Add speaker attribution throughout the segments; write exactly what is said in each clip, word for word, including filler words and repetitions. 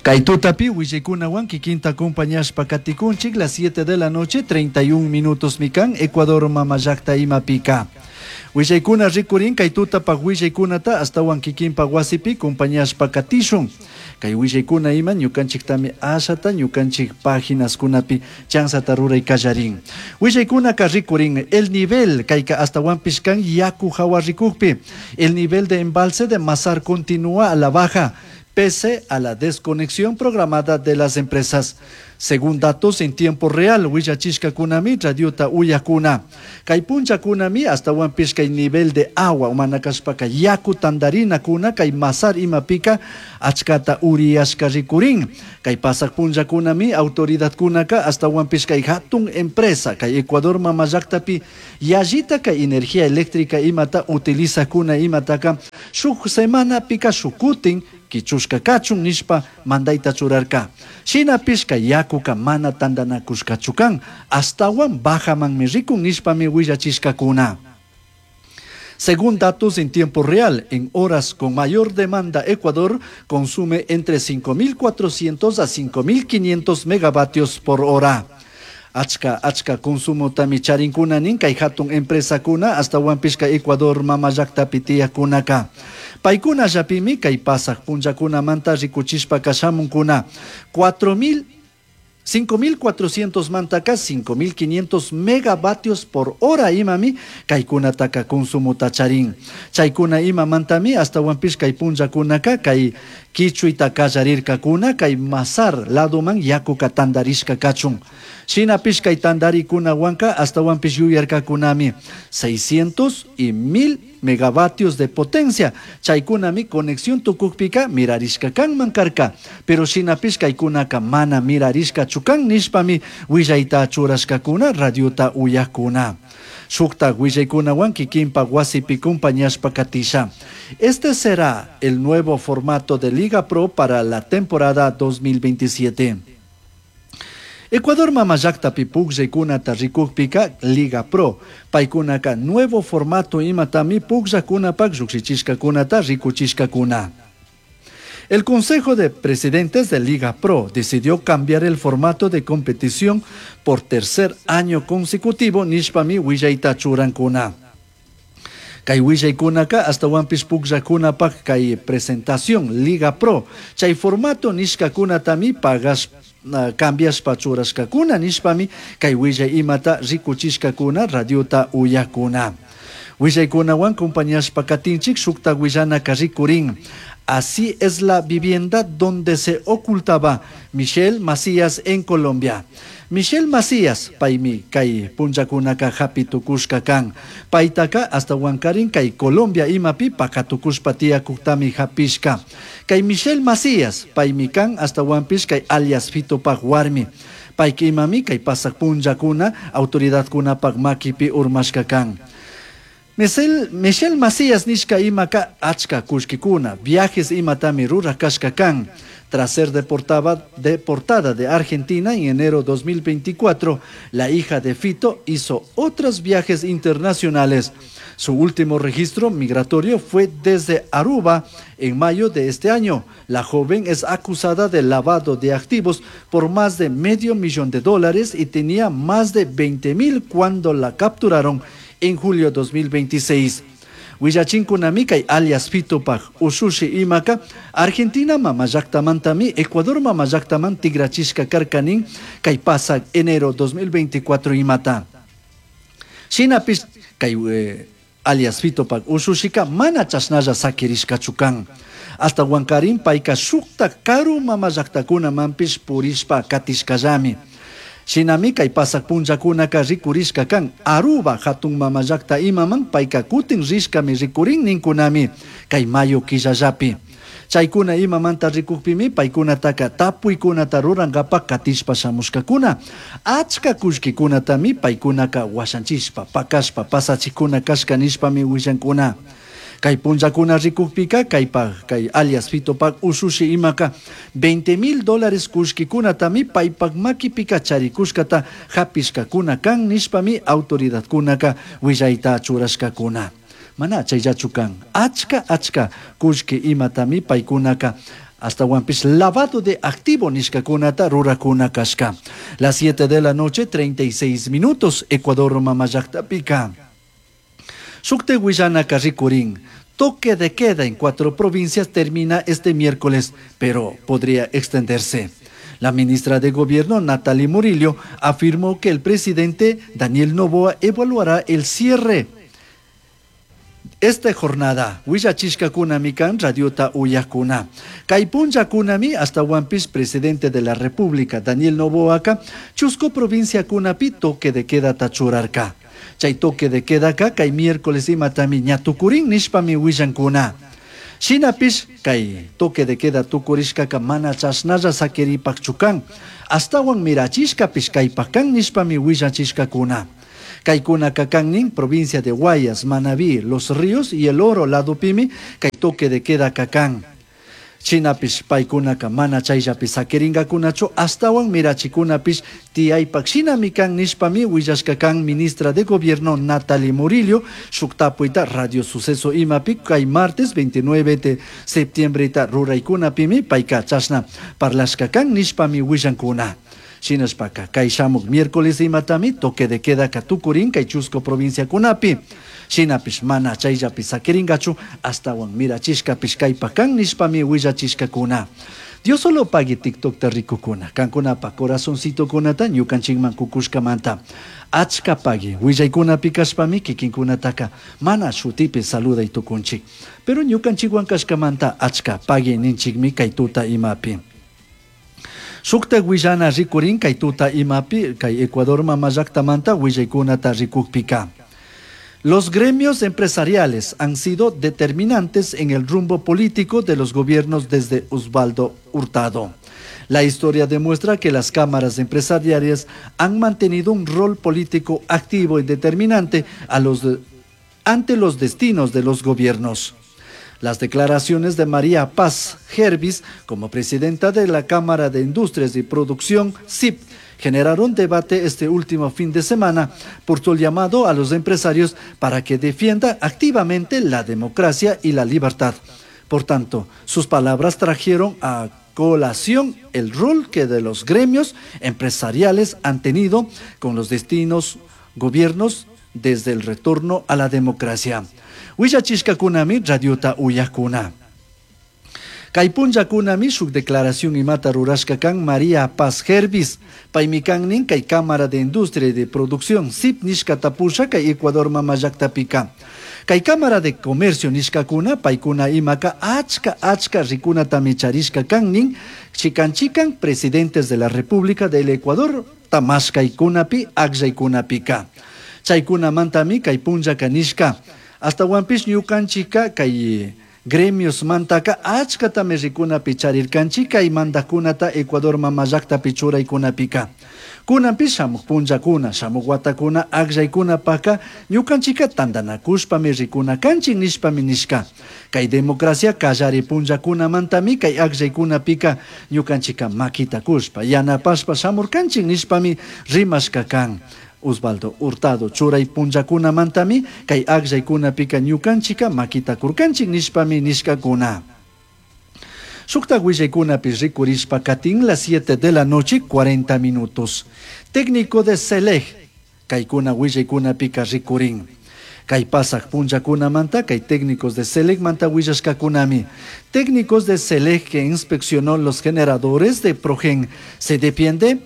Speaker 1: Kay tutapi willaykunawan kikinta acompañashpa katikunchik las siete de la noche treinta y un minutos mikan Ecuador mama llakta imapika. Willaykuna rikurin kay tutapaq willaykunata astawan kikinpa wasipi acompañashpa katishun. Kay willaykuna ima ñukanchiktami ashata ñukanchik paginaskunapi chansata ruray kallarin. Willaykunaka rikurin el nivel kayka astawanpish kan yaku hawa rikukpi. El nivel de embalse de Mazar continúa a la baja pese a la desconexión programada de las empresas. Según datos en tiempo real, willachishkakunami radiota uyakuna. Kay punchakunami astawanpish kay nivel de agua mana kashpaka yaku tandarinakuna kay Mazar imapika achkata uriyashka rikurin. Kay pasak punchakunami autoridadkunaka astawanpish kay hatun empresa kay Ecuador mama llaktapi yallita kay energía eléctrica imata utilizakuna imataka shuk semanapika shukutin kichushka kachun nishpa mandayta churarka. Shinapish kay yakuka mana tandanakushkachu kan, astawan bajamanmi rikun nishpami willachishkakuna. Según datos en tiempo real, en horas con mayor demanda, Ecuador consume entre cinco mil cuatrocientos a cinco mil quinientos megavatios por hora. Achka achka consumo tami charinkuna nin kay hatun empresakuna astawanpish kay Ecuador mama llaktapi tiyakkunaka. Paykuna llapimi kay pasaq punllakunamanta rikuchishpa kashamunkuna cuatro mil cinco mil cuatrocientos mantaka cinco mil quinientos megavatios por hora imami kaykunataka consumota charin. Chaykuna imamantami astawanpish kay punllakunaka kay kichuyta kallarirkakuna kay Mazar ladoman yakuka tandarishka kachun. Shinapish kay tandarikunawanka astawanpish yuyarkakunami seiscientos y mil megavatios de potencia. Chaykunami conexión tukukpika mirarishka kanman karka. Pero shinapish kaykunaka mana mirarishkachu kan nishpami willayta churashkakuna radiota uyakuna. Shukta willaykunawan kikinpa wasipi acompañashpa katisha. Este será el nuevo formato de Liga Pro para la temporada dos mil veintisiete. Ecuador mama llaktapi pukllaykunata rikukpika Liga Pro paykunaka nuevo formato imatami pukllakunapak llukshichishkakunata rikuchishkakuna. El Consejo de Presidentes de Liga Pro decidió cambiar el formato de competición por tercer año consecutivo nishpami willayta churankuna. Kay willaykunaka astawanpish pukllakunapak kay presentación Liga Pro chay formato nishkakunatami pagas uh, cambiashpa churashkakuna nishpami kay willay imata rikuchishkakuna radiota uyakuna. Willaykunawan acompañashpa katinchik shukta willanaka rikurin. Así es la vivienda donde se ocultaba Michelle Macías en Colombia. Michelle Macías, paymi kay punllakunaka hapi tukushka kan. Paytaka astawankarin kay Colombia imapi pakatukushpa tiyakuktami hapishka. Kay Michelle Macías, paymi kan astawanpish kay alias Fitopak warmi. Payka imami kay pasak punllakuna autoridadkunapak makipi urmashka kan. Michelle, Michelle Macías nishka imaka achka kullkikuna, viajes imatami ruraj kashka kan. Tras ser deportada, deportada de Argentina en enero dos mil veinticuatro, la hija de Fito hizo otros viajes internacionales. Su último registro migratorio fue desde Aruba en mayo de este año. La joven es acusada de lavado de activos por más de medio millón de dólares y tenía más de veinte mil cuando la capturaron en julio dos mil veintiséis. Willachinkunami kay alias Fitopak ushushi imaka Argentina mama llaktamantami Ecuador mama llaktaman tigrachishka karkanin kay pasak enero dos mil veinticuatro imata. Shinapish kay eh, alias Fitopak ushushika mana chashnalla sakirishkachu kan. Astawankarin payka shukta karu mama llaktakunamanpish purishpa katishkallami. Shinami kay pasak punllakunaka rikurishka kan Aruba hatun mama llakta imaman payka kutin rishkami rikurin ninkunami kay mayo killallapi. Chaykuna imamanta rikukpimi paykunataka tapuykunata rurankapak katishpa shamushkakuna. Achka kullkikunatami paykunaka washanchishpa, pakashpa, pasachikuna kashka nishpami willankuna. Kay punllakuna rikukpika kaypak kay alias Fitopak ushushi imaka veinte mil dólares kullkikunatami paypak makipika charikushkata hapishkakuna kan nishpami autoridadkunaka willayta churashkakuna. Mana chayllachu kan. Achka achka kullki imatami paykunaka astawanpish lavado de activo nishkakunata rurakuna kashka. Las siete de la noche, treinta y seis minutos, Ecuador mama llaktapika. Shukte willanaka rikurin. Toque de queda en cuatro provincias termina este miércoles, pero podría extenderse. La ministra de Gobierno, Natalie Murillo, afirmó que el presidente Daniel Noboa evaluará el cierre esta jornada. Willachishkakunami kan radiota uyakuna. Kay punllakunami astawanpish presidente de la República, Daniel Noboaka, chusco provincia kunapi toque de queda tachurarka. Chay toque de queda ka kay miércoles imatami ña tukurin nishpami willankuna. Shinapish kay toque de queda tukurishkaka mana chashnalla sakiripakchukan. Astawan mirachishkapish kaypakan nishpami willachishkakuna. Kaykuna kakannin, provincia de Guayas, Manabí, Los Ríos y El Oro, ladupimi, kay toque de queda kakan. Shinapish paykunaka mana chayllapi sakiringakunachu, astawan mirachikunapish tiyaypak shinami kan nishpami willashkakan ministra de Gobierno Natalie Murillo, shuk tapuyta Radio Suceso imapi kay martes veintinueve de septiembre ta ruraykunapimi payka chashna parlashkakan nishpami willankuna. Shinashpaka kay shamuk miércoles imatami toque de queda katukurin kay chusco provincia kunapi. Shinapish mana chayllapi sakiringachu astawan mirachishkapish kaypakan nishpami willachishkakuna. Dios solo pague TikTok ta rikukuna. Kankunapa corazoncito kunata ñukanchikman kukushkamanta. Achka pague willaykunapi kashpami kikinkunataka mana shutipi saluday tukunchik. Pero ñukanchikwan kashkamanta achka pague ninchikmi kay tuta imapi. Shukta willana rikurin kay tuta imapi kay Ecuador mama llaktamanta willaykunata rikukpika. Los gremios empresariales han sido determinantes en el rumbo político de los gobiernos desde Osvaldo Hurtado. La historia demuestra que las cámaras empresariales han mantenido un rol político activo y determinante a los de, ante los destinos de los gobiernos. Las declaraciones de María Paz Hervis como presidenta de la Cámara de Industrias y Producción, C I P, generaron debate este último fin de semana por su llamado a los empresarios para que defiendan activamente la democracia y la libertad. Por tanto, sus palabras trajeron a colación el rol que de los gremios empresariales han tenido con los destinos gobiernos desde el retorno a la democracia. Willachishkakunami radiota uyakuna. Kay punllakunami shuk declaración imata rurashka kan María Paz Hervis. Paymi kannin kay Cámara de Industria y de Producción C I P nishkata pusha kay Ecuador mama llaktapika. Kay Cámara de Comercio nishkakuna paykuna imaka achka achka rikunatami charishka kannin chikan chikan presidentes de la República del Ecuador tamashkaykunapi akllaykunapika. Chaykunamantami kay punllaka nishka. Astawanpish ñukanchika kay gremios mantaka achkatami rikunapi charirkanchik kay mandakunata Ecuador mama llaktapi churaykunapika. Kunanpish shamuq punllakuna, shamuq watakuna akllaykunapaka ñukanchika tantanakushpami rikuna kanchik nishpami nishka. Kay democracia kallari punllakunamantami kay akllaykunapika ñukanchika makita kushpa yanapashpa shamurkanchik nishpami rimashka kan. Osvaldo Hurtado churay punllakunamantami kay akllaykunapika ñukanchika makita kurkanchik nishpami nishkakuna. Shukta willaykunapi rikurishpa katin las siete de la noche cuarenta minutos. Técnico de Celej kaykuna willaykunapika rikurin. Kay pasak punllakunamanta kay técnicos de Celej manta willashkakunami. Técnicos de Celej que inspeccionó los generadores de Progen se defiende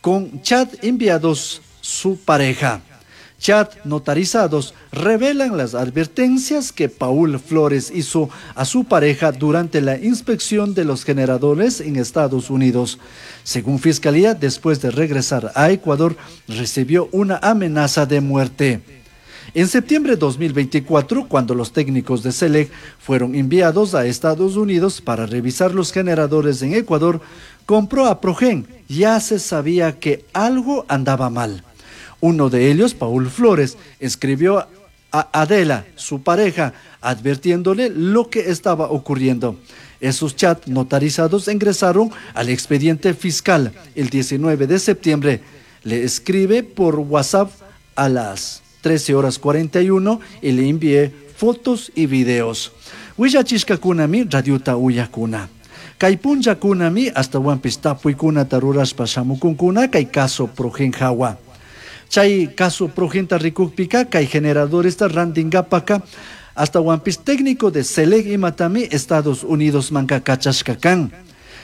Speaker 1: con chat enviados su pareja. Chat notarizados revelan las advertencias que Paul Flores hizo a su pareja durante la inspección de los generadores en Estados Unidos. Según Fiscalía, después de regresar a Ecuador, recibió una amenaza de muerte. En septiembre de dos mil veinticuatro, cuando los técnicos de Celec fueron enviados a Estados Unidos para revisar los generadores en Ecuador, compró a Progen. Ya se sabía que algo andaba mal. Uno de ellos, Paul Flores, escribió a Adela, su pareja, advirtiéndole lo que estaba ocurriendo. Esos chats notarizados ingresaron al expediente fiscal el diecinueve de septiembre. Le escribe por WhatsApp a las trece horas cuarenta y uno y le envié fotos y videos. Willachishkakunami radiota uyakuna. Kay punllakunami ashtawanpish tapuykunata rurashpa shamukunkuna kay caso Progen hawa. Chay caso Progenta rikukpika kay generadoresta rantinkapaka ashtawanpish técnico de Selec imatami Estados Unidos manka kachashka kan.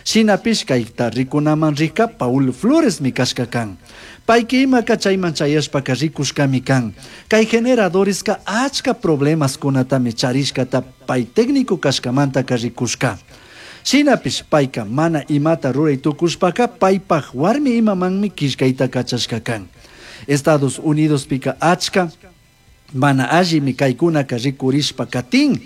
Speaker 1: Shinapish kayta rikunaman rika Paul Flores mi kashka kan. Payki imaka chayman chayashpaka rikushkami kan. Kay generadoreska achka problemas kunatami charishkata pay técnico kashkamantaka rikushka. Shinapish payka mana imata ruray tukushpaka paypaj warmi imamanmi killkayta kachashka kan. Estados Unidos pika achka mana allimi kaykunaka rikurishpa katin.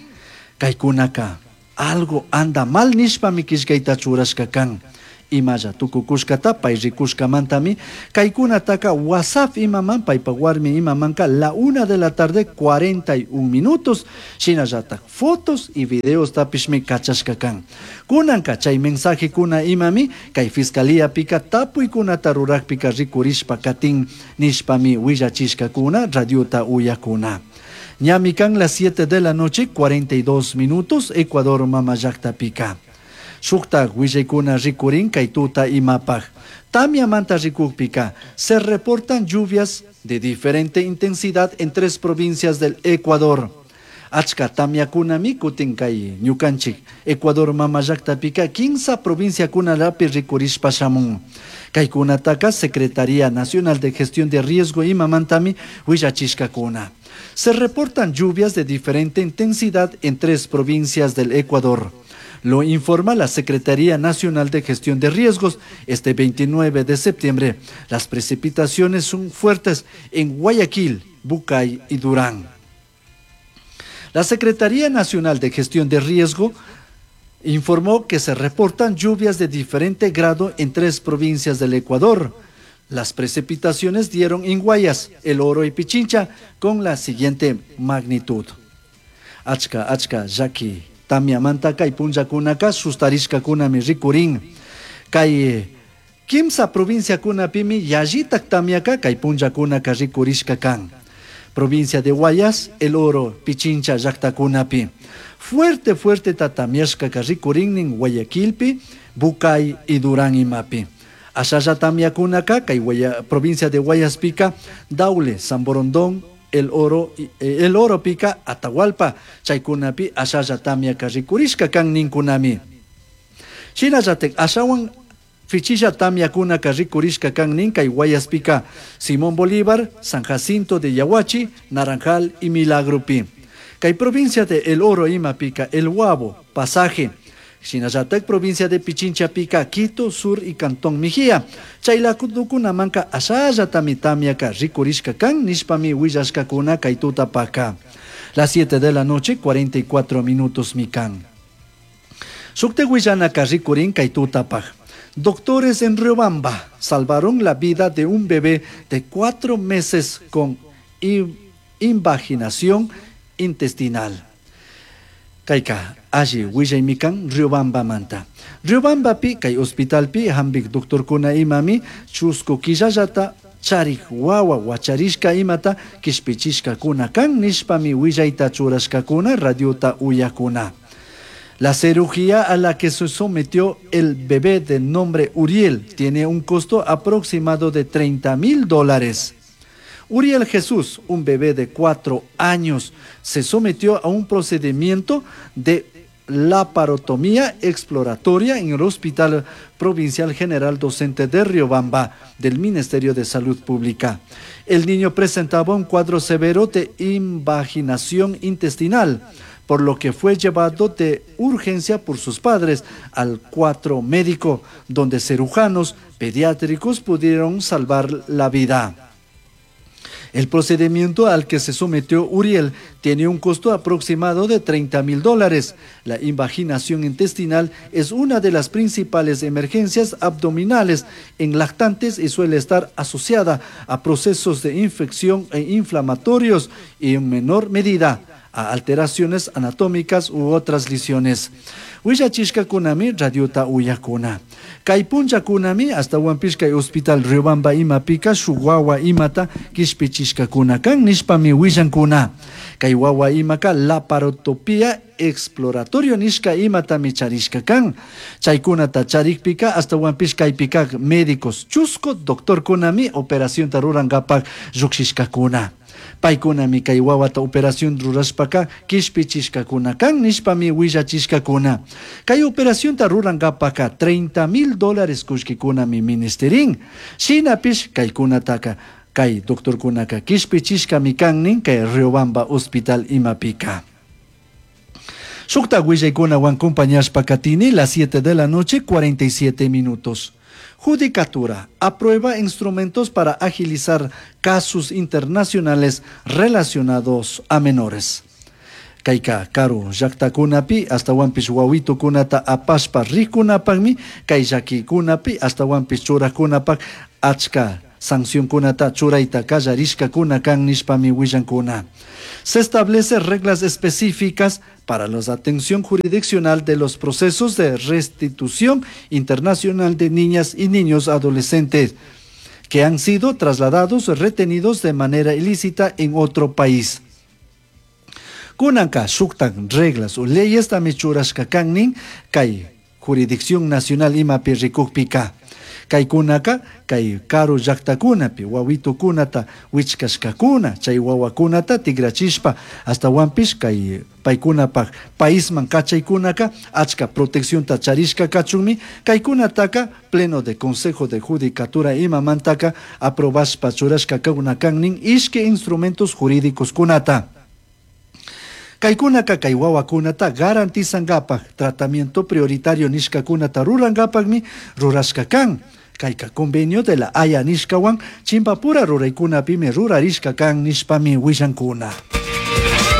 Speaker 1: Kaykunaka algo anda mal nishpami killkayta churashka kan. Imalla tukukushkata pay rikushkamantami kaykunataka WhatsApp imaman paypa warmi imamanka la una de la tarde cuarenta y un minutos shinallatak fotos y videos tapishmi kachashka kan. Kunanka chay mensaje kuna imami kay fiscalía pika tapuykunata rurakpika rikurishpa katin nishpami willachishkakuna radiota uyakuna. Ñami kan las siete de la noche cuarenta y dos minutos Ecuador mama llakta pika. Shuktak willaykuna rikurin kay tuta imapaj. Tamyamanta rikukpika se reportan lluvias de diferente intensidad en tres provincias del Ecuador. Achka tamyakunami kutin kay ñukanchik Ecuador mama llaktapika quince provinciakunalapi rikurishpa shamun. Kaykunataka Secretaría Nacional de Gestión de Riesgo imamantami willachishkakuna. Se reportan lluvias de diferente intensidad en tres provincias del Ecuador. Lo informa la Secretaría Nacional de Gestión de Riesgos este veintinueve de septiembre. Las precipitaciones son fuertes en Guayaquil, Bucay y Durán. La Secretaría Nacional de Gestión de Riesgo informó que se reportan lluvias de diferente grado en tres provincias del Ecuador. Las precipitaciones dieron en Guayas, El Oro y Pichincha con la siguiente magnitud. Achka, achka, yaki. Tamyamanta kay punllakunaka sustarishkakunami rikurin. Kay kimsa provinciakunapimi yallitak tamyaka kay punllakunaka rikurishka kan. Provincia de Guayas, El Oro, Pichincha llaktakunapi. Fuerte, fuerte tamyashkaka rikurinnin Guayaquilpi, Bucay y Durán imapi. Ashalla tamyakunaka kay Guaya, provincia de Guayaspica, Daule, San Borondón, El Oro, El Oro pica, Atahualpa, chaykunapi ashalla tamyaka rikurishka kan ninkunami. Shinallatak ashawan fichilla tamyakunaka rikurishka kan nin kay Guayaspica, Simón Bolívar, San Jacinto de Yaguachi, Naranjal y Milagropi. Kay provincia de El Oro imapica, El Guabo, Pasaje. Shinallatak provincia de Pichincha pica, Quito, Sur y Cantón Mejía. Chaylakunamanka ashalla tamyaka rikurishka kan nishpami willashkakuna kay tutapaka. Las siete de la noche, cuarenta y cuatro minutos mikan. Shukte willanaka rikurin kay tutapaj. Doctores en Riobamba salvaron la vida de un bebé de cuatro meses con invaginación intestinal. Kayka alli willaymikan Riobamba manta. Riobamba pi kay hospital pi hambik doctorkuna imami chusku killallata charik wawa wacharishka imata kishpichishkakuna kan nishpami willayta churashkakuna radiota uyakuna. La cirugía a la que se sometió el bebé de nombre Uriel tiene un costo aproximado de treinta mil dólares. Uriel Jesús, un bebé de cuatro años, se sometió a un procedimiento de laparotomía exploratoria en el Hospital Provincial General Docente de Riobamba del Ministerio de Salud Pública. El niño presentaba un cuadro severo de invaginación intestinal, por lo que fue llevado de urgencia por sus padres al cuatro médico, donde cirujanos pediátricos pudieron salvar la vida. El procedimiento al que se sometió Uriel tiene un costo aproximado de treinta mil dólares. La invaginación intestinal es una de las principales emergencias abdominales en lactantes y suele estar asociada a procesos de infección e inflamatorios y en menor medida a alteraciones anatómicas u otras lesiones. Willachishkakunami radiota uyakuna. Kay punllakunami ashtawanpish kay hospital Riobamba imapika shuk wawa imata kishpichishkakuna kan nishpami willankuna. Kay wawa imaka laparotopía exploratorio nishka imatami charishka kan. Chaykunata charikpika ashtawanpish kaypika médicos chusku doctorkunami operacionta rurankapak llukshishkakuna. Paykunami kay wawata operación rurashpaka kishpichishkakuna kan nishpami willachishkakuna. Kay operacionta rurankapaka treinta mil dólares kullkikunami ministerin. Shinapish kaykunataka kay doctorkunaka kishpichishkami kan nin kay Riobamba Hospital imapika. Shukta willaykunawan acompañashpa katini las siete de la noche cuarenta y siete minutos. Judicatura aprueba instrumentos para agilizar casos internacionales relacionados a menores. Kayka karu llaktakunapi ashtawanpish wawitukunata apashpa rikunapakmi kay llakikunapi ashtawanpish churakunapak achka sancionkunata churayta kallarishkakuna kan nishpami willankuna. Se establece reglas específicas para la atención jurisdiccional de los procesos de restitución internacional de niñas y niños adolescentes que han sido trasladados o retenidos de manera ilícita en otro país. Kunanka shuktan reglas o leyes tami churashka kan nin kay jurisdicción nacional imapi rikukpika. Kaykunaka kay karu llaktakunapi wawitukunata wichkashkakuna chay wawakunata tigrachishpa ashtawanpish kay paykunapak paisman kachaykunaka achka proteccionta charishka kachunmi kaykunataka pleno de consejo de judicatura imamantaka aprobashpa churashka kuna kan nin ishki instrumentos jurídicos kunata. Kaykunaka kay wawakunata garantizankapak tratamiento prioritario nishkakunata rurankapakmi rurashka kan. Kayka convenio de la Haya nishkawan chimpapura ruraykunapimi rurarishka kan nishpami willankuna.